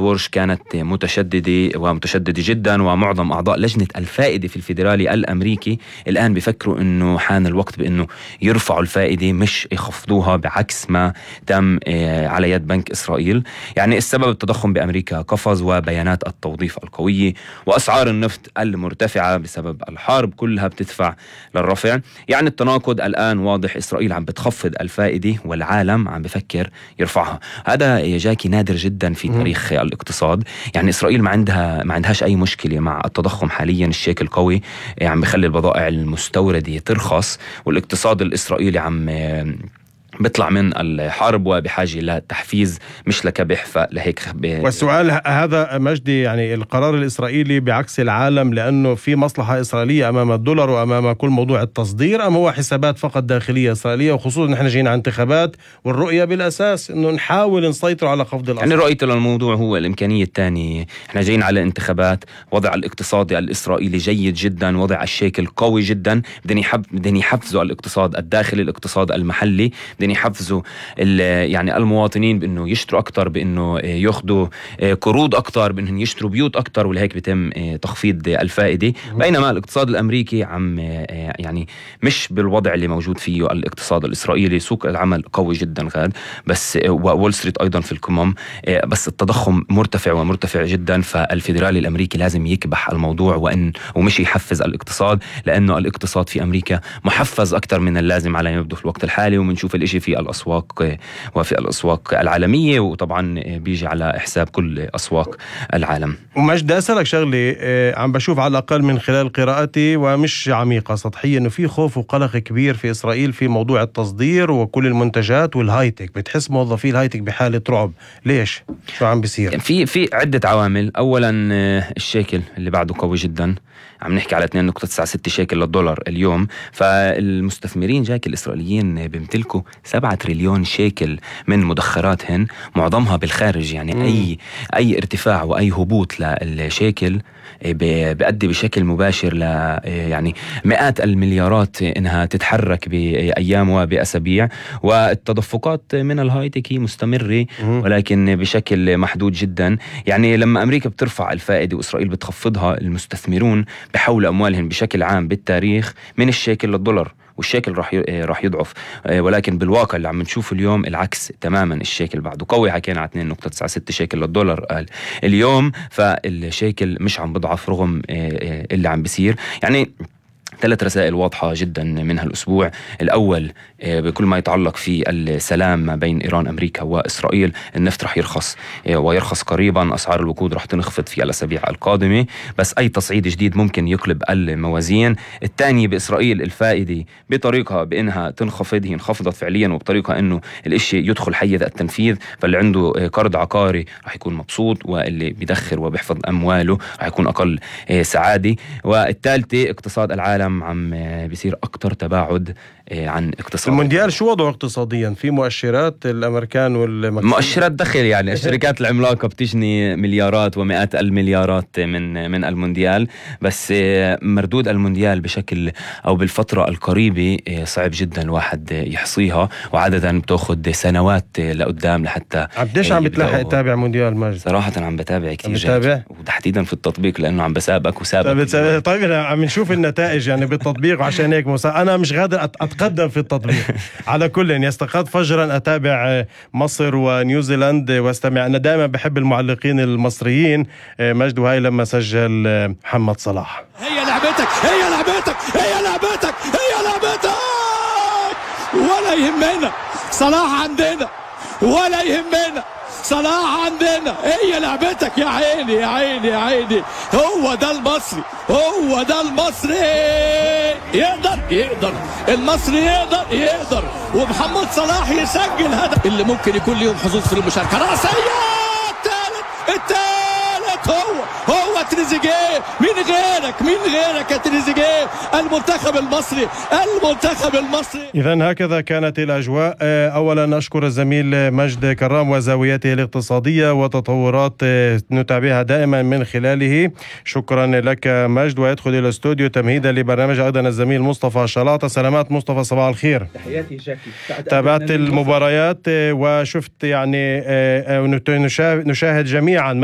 ورش كانت متشددة جدا، ومعظم أعضاء لجنة الفائدة في الفيدرالي الأمريكي الآن بيفكروا أنه حان الوقت بأنه يرفعوا الفائدة مش يخفضوها، بعكس ما تم على يد بنك إسرائيل. يعني السبب التضخم بأمريكا قفز، وبيانات التوظيف القوية، وأسعار النفط المرتفعة بسبب الحرب كلها بتدفع للرفع. يعني التناقض الآن واضح، إسرائيل عم بتخفض الفائدة والعالم عم بفكر يرفعها. هذا يا جاكي نادر جدا في تاريخ الاقتصاد. يعني إسرائيل ما عندهاش أي مشكلة مع التضخم حاليا. الشيكل قوي عم بخلي البضائع المستوردة ترخص، والاقتصاد الإسرائيلي عم بيطلع من الحرب وبحاجة لتحفيز مش لكبح. فلهيك والسؤال هذا مجدي، يعني القرار الإسرائيلي بعكس العالم لأنه في مصلحة إسرائيلية أمام الدولار وأمام كل موضوع التصدير، أم هو حسابات فقط داخلية إسرائيلية؟ وخصوصا نحن جينا عن انتخابات، والرؤية بالأساس إنه نحاول نسيطر على خفض الأسعار. يعني رؤيته للموضوع هو الإمكانية الثانية. احنا جايين على انتخابات، وضع الاقتصادي الإسرائيلي جيد جدا، وضع الشيكل قوي جدا. بدهم يحفزوا الاقتصاد الداخلي، الاقتصاد المحلي، يحفزوا يعني المواطنين بأنه يشتروا أكتر، بأنه ياخدوا قروض أكتر، بأنهم يشتروا بيوت أكتر، ولهيك بيتم تخفيض الفائدة. بينما الاقتصاد الأمريكي عم يعني مش بالوضع اللي موجود فيه الاقتصاد الإسرائيلي. سوق العمل قوي جدا غاد، بس وول ستريت أيضا في القمم، بس التضخم مرتفع جدا. فالفيدرالي الأمريكي لازم يكبح الموضوع ومش يحفز الاقتصاد، لأنه الاقتصاد في أمريكا محفز أكتر من اللازم على يبدو في الوقت الحالي. ومنشوف الإشي في الأسواق وفي الأسواق العالمية، وطبعا بيجي على حساب كل أسواق العالم. ومجد أسألك شغلي، عم بشوف على الأقل من خلال قراءتي ومش عميقة سطحية إنه في خوف وقلق كبير في إسرائيل في موضوع التصدير وكل المنتجات والهايتك. بتحس موظفي الهايتك بحالة رعب. ليش؟ شو عم بيصير؟ في عدة عوامل. أولا الشيكل اللي بعده قوي جدا، عم نحكي على 2.96 شيكل للدولار اليوم. فالمستثمرين جاك الإسرائيليين بيمتلكوا 7 تريليون شيكل من مدخراتهن، معظمها بالخارج. يعني أي ارتفاع وأي هبوط للشيكل بيؤدي بشكل مباشر ل يعني مئات المليارات إنها تتحرك بأيام وبأسابيع. والتدفقات من الهايتك هي مستمرة، ولكن بشكل محدود جدا. يعني لما أمريكا بترفع الفائدة وإسرائيل بتخفضها، المستثمرون بحولوا أموالهم بشكل عام بالتاريخ من الشيكل للدولار، والشيكل راح يضعف. ولكن بالواقع اللي عم نشوفه اليوم العكس تماما. الشيكل بعده قوي، حكينا على 2.96 شيكل للدولار اليوم، فالشيكل مش عم بضعف رغم اللي عم بيصير. يعني 3 رسائل واضحة جدا من هالأسبوع. الأول بكل ما يتعلق في السلام ما بين إيران أمريكا وإسرائيل، النفط رح يرخص ويرخص قريبا. أسعار الوقود رح تنخفض في الأسابيع القادمة، بس أي تصعيد جديد ممكن يقلب الموازين. الثاني بإسرائيل الفائدة بطريقة بأنها تنخفض، هي انخفضت فعليا، وبطريقة أنه الإشي يدخل حيز التنفيذ. فاللي عنده قرض عقاري رح يكون مبسوط، واللي بيدخر وبيحفظ أمواله رح يكون أقل سعادة. والثالثة اقتصاد العالم عم بيصير أكتر تباعد عن اقتصاد المونديال. شو وضعه اقتصاديا؟ في مؤشرات الأمريكان مؤشرات دخل، يعني الشركات العملاقة بتجني مليارات ومئات المليارات من المونديال، بس مردود المونديال بشكل أو بالفترة القريبة صعب جدا الواحد يحصيها، وعادة بتأخذ سنوات لقدام لحتى. قديش عم بتلاحق تتابع مونديال ماجد؟ صراحة عم بتابع كتير، وتحديدا في التطبيق لأنه عم بسابق وسابق. طيب عم نشوف النتائج يعني بالتطبيق، وعشان هيك أنا مش قادر أتقدم في التطبيق. على كل يستقاد فجرا أتابع مصر ونيوزيلاند واستمع. أنا دائما بحب المعلقين المصريين. مجد، وهاي لما سجل محمد صلاح. هي لعبتك هي لعبتك هي لعبتك هي لعبتك، ولا يهمنا صلاح عندنا، ولا يهمنا صلاح عندنا. هي لعبتك يا عيني يا عيني يا عيني. هو ده المصري، هو ده المصري. يقدر المصري يقدر ومحمد صلاح يسجل هدف اللي ممكن يكون ليهم حظوظ في المشاركة. رأسية الثالث هو تريزيجيه. تريزيجيه. مين غيرك يا تريزيجيه؟ المنتخب المصري. إذن هكذا كانت الأجواء. أولا أشكر الزميل مجد كرام وزاويته الاقتصادية وتطورات نتابعها دائما من خلاله. شكرا لك مجد. ويدخل إلى الاستوديو تمهيدا لبرنامج أيضا الزميل مصطفى شلاطة. سلامات مصطفى، صباح الخير. تحياتي جاكي. تابعت المباريات وشفت يعني نشاهد جميعا